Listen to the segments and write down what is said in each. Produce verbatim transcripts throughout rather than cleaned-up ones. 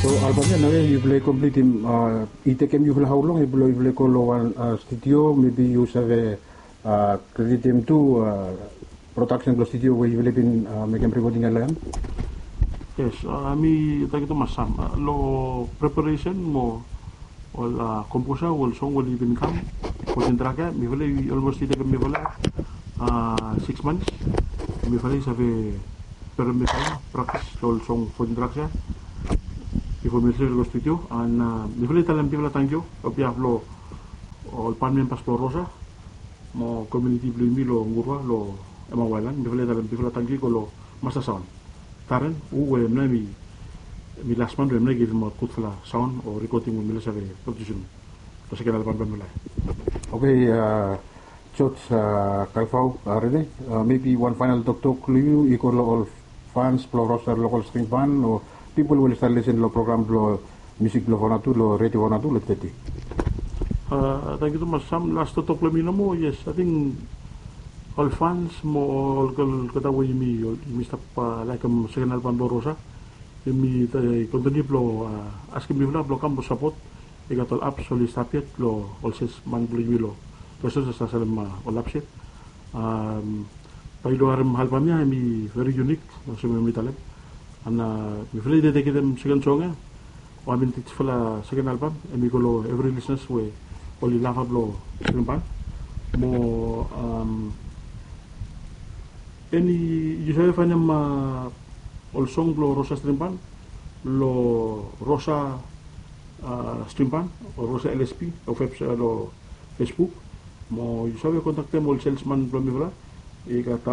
So album ia nao ia yufala i komplitim, i tekem yufala hao long blo yufala i go lo wan studio, mebi yu save kreditem tu prodaksen blo studio we yufala i bin mekem rekoding ia lo hem? Yes, mi tankiu tumas Sam lo preparesen mo ol komposa we ol song we oli bin kam, fotin trak ia mifala i olmos i tekem mifala siks mans. Mifala i save perem mifala praktis lo ol song fotin traks ia bifo mifala i save go studio. An mifala i talem bigfala tankiu lo behalf lo ol ban membas blo Rosa mo komuniti blo yumi lo Gurwa lo Emmanuel Island. Mifala i talem bigfala tankiu i go lo Masta Saon Taren, hu we hemia mi las man we hemia i givim aot gudfala saon o rekoding we mifala i save prodiusim lo seken albam blo mifala. Oke, George Kalfau, rede, mebi wan faenal toktok lo yu i go lo ol fans blo Rosa Lokol String Ban o pipol we oli stap lesen lo program blo musik blo Vanuatu lo redio Vanuatu lo teti. Tankiu tumas Sam. Las toktok blo mi nomo, yes, ating ol fans mo ol olgeta we yumi stap laekem seken albam blo Rosa, yumi kontiniu blo askem mifala blo kam blo sapot. I gat ol aps oli stap yet lo ol salesman blo yumi lo Rosa, sa salem ol aps yet. Bae yu harem albam ia hemi veri yunik olsem we mi talem. An mifala i dedeketem seken song ia o amin tijfala seken albam, hemi go lo evri lisnas we oli lava blo String Ban. Mo eni yu save faenem ol song blo Rosa String Ban lo Rosa String Ban o Rosa L S P o websaet lo Facebook. Mo yu save kontaktem ol salesman blo mifala, i gat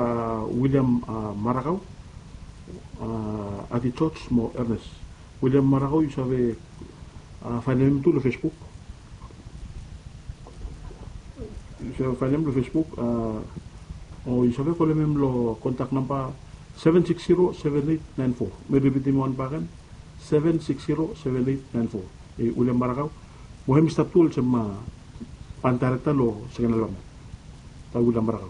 William Marakau, Adi George mo Ernest. William Marakau yu save faenem hem tu lo Facebook. Yu save faenem lo Facebook o yu save kolem hem lo kontak namba seven six zero seven eight nine four. Mi ripitim wan bakegen, seven six zero seven eight nine four. William Marakau mo hem i stap tu olsem ban daerekta lo seken albam ia. William Marakau.